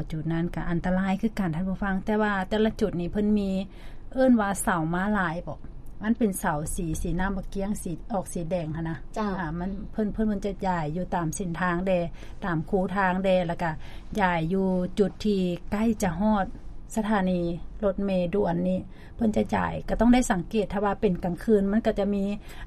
ຈຸດນັ້ນກໍອັນຕະລາຍຄືກັນທ່ານຜູ້ຟັງ, ແຕ່ວ່າແຕ່ລະຈຸດນີ້ເພິ່ນມີເອີ້ນວ່າເສົາມ້າລາຍບໍ? ມັນເປັນເສົາສີ ສີນ້ຳບັກກ້ຽງ ສີອອກສີແດງຫັ້ນນະ. ເຈົ້າ. ອ່າ ມັນ ເພິ່ນ ເພິ່ນ ເພິ່ນຈະຢາຍຢູ່ຕາມເສັ້ນທາງແດ່ ຕາມຄູທາງແດ່ ແລ້ວກະຢາຍຢູ່ຈຸດທີ່ໃກ້ຈະຮອດສະຖານີລົດເມດ່ວນນີ້ ເພິ່ນຈະຢາຍ ກໍຕ້ອງໄດ້ສັງເກດ. ຖ້າວ່າເປັນກາງຄືນ ມັນກໍຈະມີ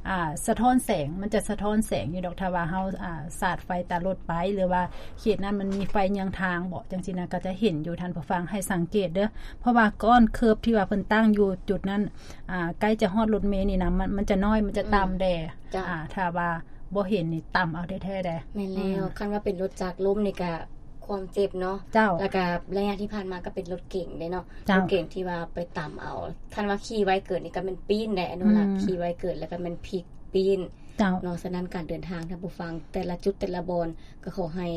ອ່າ ສະທ້ອນແສງ ມັນຈະສະທ້ອນແສງຢູ່ດອກ. ຖ້າວ່າເຮົາ ອ່າ ສາດໄຟຕາລົດໄປ ຫຼືວ່າເຂດນັ້ນມັນມີໄຟເຍືອງທາງເບາະ ຈັ່ງຊີ້ນະ ກໍຈະເຫັນຢູ່. ທ່ານຜູ້ຟັງໃຫ້ສັງເກດເດີ້ ເພາະວ່າກ້ອນເຄີບທີ່ວ່າເພິ່ນຕັ້ງຢູ່ຈຸດນັ້ນ ອ່າ ໃກ້ຈະຮອດລົດເມນີ້ນະ ມັນ ມັນຈະນ້ອຍ ມັນຈະຕ່ຳແດ່. ເຈົ້າ. ອ່າ ຖ້າວ່າບໍ່ເຫັນນີ້ຕ່ຳເອົາແທ້ໆເດ້. ແມ່ນແລ້ວ. ອືມ ຄັນວ່າເປັນລົດຈັກລົ້ມນີ້ກະຄວາມເຈັບເນາະ. ເຈົ້າ. ແລ້ວກະໄລຍະທີ່ຜ່ານມາກໍເປັນລົດເກັງເດ້ເນາະ. ເຈົ້າ. ລົດເກັງທີ່ວ່າໄປຕ່ຳເອົາ ຄັນວ່າຂີ່ໄວເກີນນີ້ກໍແມ່ນປີ້ນແຫຼະ ອະນຸລັກ. ອືມ ຂີ່ໄວເກີນ ແລ້ວກໍແມ່ນພິກປີ້ນ. ເຈົ້າ. ເນາະ. ສະນັ້ນການເດີນທາງ ທ່ານຜູ້ຟັງ ແຕ່ລະຈຸດແຕ່ລະບ່ອນກໍຂໍໃຫ້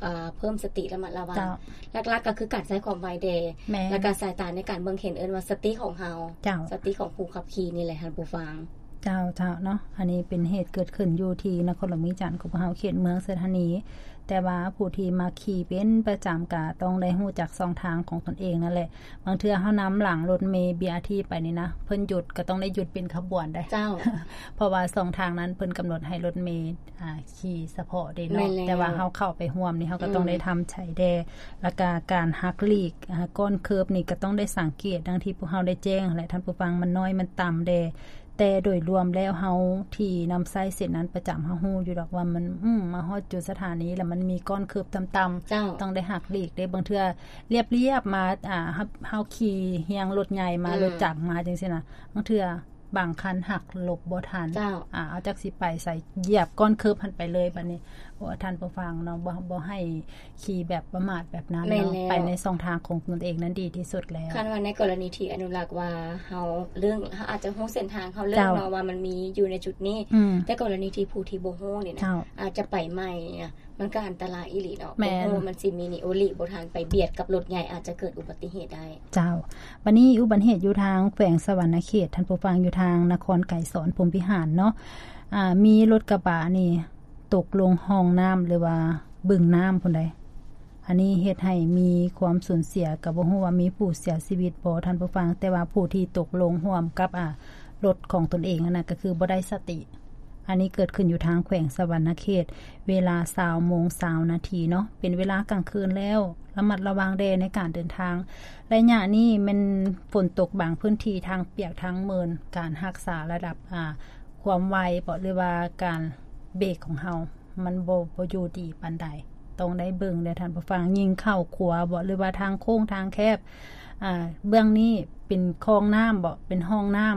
ອ່າ ເພີ່ມສະຕິລະມັດລະວັງ. ເຈົ້າ. ຫຼັກໆກໍຄືການໃຊ້ຄວາມໄວແດ່. ແມ່ນ. ແລ້ວກໍສາຍຕາໃນການເບິ່ງເຫັນ ເອີ້ນວ່າສະຕິຂອງເຮົາ. ເຈົ້າ. ສະຕິຂອງຜູ້ຂັບຂີ່ນີ້ແຫຼະທ່ານຜູ້ຟັງ. ເຈົ້າ ເຈົ້າເນາະ. ອັນນີ້ເປັນເຫດເກີດຂຶ້ນຢູ່ທີ່ນະຄອນຫຼວງວຽງຈັນຂອງພວກເຮົາ ເຂດເມືອງໄຊທານີ, ແຕ່ວ່າຜູ້ທີ່ມາຂີ່ເປັນປະຈຳກໍຕ້ອງໄດ້ຮູ້ຈັກຊ່ອງທາງຂອງຕົນເອງນັ້ນແຫຼະ. ບາງເທື່ອເຮົານຳຫຼັງລົດເມ ບີອາທີ ໄປນີ້ນະ ເພິ່ນຢຸດກໍຕ້ອງໄດ້ຢຸດເປັນຂະບວນໄດ໋. ເຈົ້າ. ເພາະວ່າຊ່ອງທາງນັ້ນເພິ່ນກຳນົດໃຫ້ລົດເມ ອ່າ ຂີ່ສະເພາະເດ້ເນາະ. ແມ່ນແລ້ວ. ແຕ່ວ່າເຮົາເຂົ້າໄປຮ່ວມນີ້ ເຮົາກໍຕ້ອງໄດ້ ອືມ ທຳໃຈແດ່ ແລ້ວກະການຫັກຫຼີກ ອ່າ ກ້ອນເຄີບນີ້ກໍຕ້ອງໄດ້ສັງເກດ ດັ່ງທີ່ພວກເຮົາໄດ້ແຈ້ງຫັ້ນແຫຼະທ່ານຜູ້ຟັງ ມັນນ້ອຍ ມັນຕ່ຳແດ່. ແຕ່ໂດຍລວມແລ້ວ ເຮົາທີ່ນຳໃຊ້ເສັ້ນນັ້ນປະຈຳ ເຮົາຮູ້ຢູ່ດອກວ່າມັນ ອືມ ມາຮອດຈຸດສະຖານີແລ້ວ ມັນມີກ້ອນເຄີບຕ່ຳໆ. ເຈົ້າ. ຕ້ອງໄດ້ຫັກຫຼີກເດ້. ບາງເທື່ອລຽບໆມາ ອ່າ ເຮົາ ເຮົາຂີ່ຮຽງລົດໃຫຍ່ມາ ອືມ ລົດຈັກມາ ຈັ່ງຊີ້ນະ ບາງເທື່ອ ບາງຄັນຫັກຫຼົບບໍ່ທັນ. ເຈົ້າ. ອ່າ ເອົາຈັກຊິໄປໃສ ຢຽບກ້ອນເຄີບຫັ້ນໄປເລີຍ. ບັດນີ້ ໂອ້ ທ່ານຜູ້ຟັງເນາະ ບໍ່ ບໍ່ໃຫ້ຂີ່ແບບປະໝາດແບບນັ້ນເນາະ. ແມ່ນແລ້ວ. ໄປໃນຊ່ອງທາງຂອງຕົນເອງນັ້ນດີທີ່ສຸດແລ້ວ. ຄັນວ່າໃນກໍລະນີທີ່ອະນຸລັກວ່າເຮົາເລື່ອງ ເຮົາອາດຈະຮູ້ເສັ້ນທາງ ເຮົາເລືອກເນາະ ເຈົ້າ ວ່າມັນມີຢູ່ໃນຈຸດນີ້. ອືມ. ແຕ່ກໍລະນີທີ່ຜູ້ທີ່ບໍ່ຮູ້ນີ້ນະ ເຈົ້າ ອາດຈະໄປໃໝ່ນະ ມັນກໍອັນຕະລາຍອີ່ຫຼີເນາະ. ແມ່ນ. ບໍ່ຮູ້ວ່າມັນຊິມີນີ້ ໂອລິບໍ່ທັນໄປບຽດກັບລົດໃຫຍ່ ອາດຈະເກີດອຸບັດຕິເຫດໄດ້. ເຈົ້າ. ບັດນີ້ອຸບັດເຫດຢູ່ທາງແຂວງສະຫວັນນະເຂດ ທ່ານຜູ້ຟັງ ຢູ່ທາງນະຄອນໄກສອນ ພົມພິຫານເນາະ. ອ່າ ມີລົດກະບະນີ້ຕົກລົງຮ່ອງນ້ຳ ຫຼືວ່າບຶງນ້ຳພຸ້ນໃດ໋. ອັນນີ້ເຮັດໃຫ້ມີຄວາມສູນເສຍ ກໍບໍ່ຮູ້ວ່າມີຜູ້ເສຍຊີວິດບໍ່ທ່ານຜູ້ຟັງ, ແຕ່ວ່າຜູ້ທີ່ຕົກລົງຮ່ວມກັບ ອ່າ ລົດຂອງຕົນເອງຫັ້ນນະ ກໍຄືບໍ່ໄດ້ສະຕິ. ອັນນີ້ເກີດຂຶ້ນຢູ່ທາງແຂວງສະຫວັນນະເຂດ ເວລາຊາວໂມງຊາວນາທີເນາະ, ເປັນເວລາກາງຄືນແລ້ວ ລະມັດລະວັງແດ່ໃນການເດີນທາງ. ໄລຍະນີ້ແມ່ນຝົນຕົກບາງພື້ນທີ່ ທາງປຽກທາງເມີນ, ການຮັກສາລະດັບ ອ່າ ຄວາມໄວເບາະ ຫຼືວ່າການເບກຂອງເຮົາ ມັນບໍ່ ບໍ່ຢູ່ດີປານໃດ. ຕ້ອງໄດ້ເບິ່ງເດີທ່ານຜູ້ຟັງ, ຍິ່ງເຂົ້າຂົວເບາະ ຫຼືວ່າທາງໂຄ້ງທາງແຄບ, ອ່າ ເບື້ອງນີ້ເປັນຄອງນ້ຳເບາະ ເປັນຮ່ອງນ້ຳ,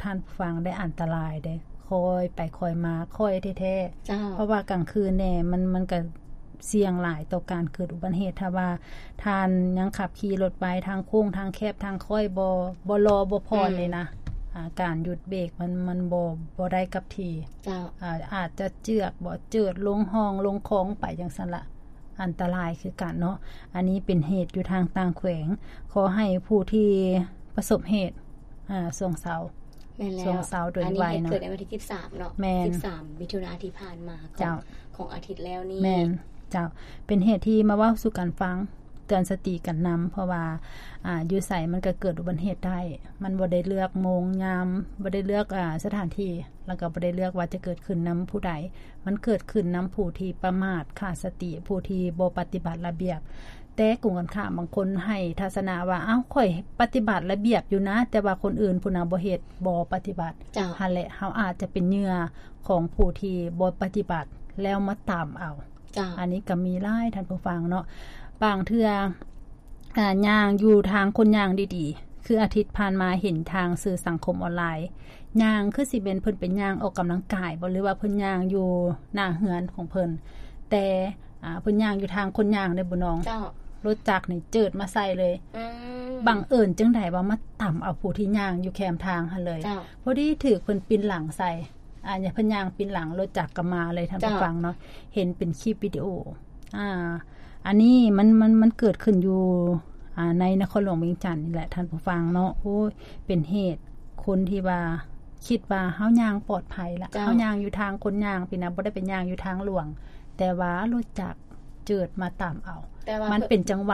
ທ່ານຜູ້ຟັງໄດ້ອັນຕະລາຍເດ້. ຄ່ອຍໄປຄ່ອຍມາ ຄ່ອຍແທ້ໆ. ເຈົ້າ. ເພາະວ່າກາງຄືນແດ່ ມັນ ມັນກະສ່ຽງຫຼາຍຕໍ່ການເກີດອຸບັດຕິເຫດ. ຖ້າວ່າທ່ານຍັງຂັບຂີ່ລົດໄວ ທາງໂຄ້ງທາງແຄບ ທາງຄ່ອຍບໍ່ ບໍ່ລໍບໍ່ຜ່ອນ ອືມ ນີ້ນະ ອ່າ ການຢຸດເບກມັນ ມັນບໍ່ ບໍ່ໄດ້ກັບທີ່. ເຈົ້າ. ອາ ອາດຈະເຈື່ອນເບາະ ເຈີດລົງຮ່ອງລົງຄອງໄປຈັ່ງຊັ້ນລະ ອັນຕະລາຍຄືກັນເນາະ. ອັນນີ້ເປັນເຫດຢູ່ທາງຕ່າງແຂວງ. ຂໍໃຫ້ຜູ້ທີ່ປະສົບເຫດ ອາ ຊ່ວງເຊົ້າ ແມ່ນແລ້ວ ຊ່ວງເຊົ້າໂດຍໄວເນາະ. ອັນນີ້ເຫດເກີດໃນວັນທີສິບສາມເນາະ. ແມ່ນ. ສິບສາມມິຖຸນາທີ່ຜ່ານມາຂອງ ເຈົ້າ ຂອງອາທິດແລ້ວນີ້. ແມ່ນ ເຈົ້າ. ເປັນເຫດທີ່ມາເວົ້າສູ່ກັນຟັງ ເຕືອນສະຕິກັນນຳ ເພາະວ່າ ອ່າ ຢູ່ໃສມັນກໍເກີດອຸບັດຕິເຫດໄດ້. ມັນບໍ່ໄດ້ເລືອກໂມງຍາມ ບໍ່ໄດ້ເລືອກ ອ່າ ສະຖານທີ່ ແລ້ວກໍບໍ່ໄດ້ເລືອກວ່າຈະເກີດຂຶ້ນນຳຜູ້ໃດ. ມັນເກີດຂຶ້ນນຳຜູ້ທີ່ປະໝາດ ຂາດສະຕິ ຜູ້ທີ່ບໍ່ປະຕິບັດລະບຽບ. ແຕ່ກົງກັນຂ້າມ ບາງຄົນໃຫ້ທັດສະນະວ່າ ອ້າວ ຂ້ອຍປະຕິບັດລະບຽບຢູ່ນະ ແຕ່ວ່າຄົນອື່ນພຸ້ນນະບໍ່ເຮັດ ບໍ່ປະຕິບັດ. ເຈົ້າ. ຫັ້ນແຫຼະ ເຮົາອາດຈະເປັນເຫຍື່ອຂອງຜູ້ທີ່ບໍ່ປະຕິບັດ ແລ້ວມາຕາມເອົາ. ເຈົ້າ. ອັນນີ້ກໍມີຫຼາຍທ່ານຜູ້ຟັງເນາະ. ບາງເທື່ອ ອ່າ ຍ່າງຢູ່ທາງຄົນຍ່າງດີໆ ຄືອາທິດຜ່ານມາເຫັນທາງສື່ສັງຄົມອອນລາຍ ຍ່າງຄືຊິແມ່ນເພິ່ນໄປຍ່າງອອກກຳລັງກາຍບໍ ຫຼືວ່າເພິ່ນຍ່າງຢູ່ໜ້າເຮືອນຂອງເພິ່ນ ແຕ່ ອ່າ ເພິ່ນຍ່າງຢູ່ທາງຄົນຍ່າງເດ້ ບຸນນອງ. ເຈົ້າ. ລົດຈັກນີ້ເຈີດມາໃສ່ເລີຍ. ອືມ. ບັງເອີນຈັ່ງໃດວ່າມາຕຳເອົາຜູ້ທີ່ຍ່າງຢູ່ແຄມທາງຫັ້ນເລີຍ. ເຈົ້າ. ພໍດີຖືກເພິ່ນປິ່ນຫຼັງໃສ່ ອ່າ ເພິ່ນຍ່າງປິ່ນຫຼັງ ລົດຈັກກໍມາເລີຍ ທ່ານຜູ້ ເຈົ້າ ຟັງເນາະ. ເຫັນເປັນຄລິບວິດີໂອ ອ່າ ອັນນີ້ມັນ ມັນ ມັນເກີດຂຶ້ນຢູ່ ອ່າ ໃນນະຄອນຫຼວງວຽງຈັນນີ້ແຫຼະ ທ່ານຜູ້ຟັງເນາະ. ໂອ້ຍ ເປັນເຫດຄົນທີ່ວ່າຄິດວ່າເຮົາຍ່າງປອດໄພລະ ເຈົ້າ ເຮົາຍ່າງຢູ່ທາງຄົນຍ່າງພີ້ນະ ບໍ່ໄດ້ໄປຍ່າງຢູ່ທາງຫຼວງ ແຕ່ວ່າລົດຈັກເຈີດມາຕຳເອົາ. ແຕ່ວ່າມັນເປັນຈັງຫວະ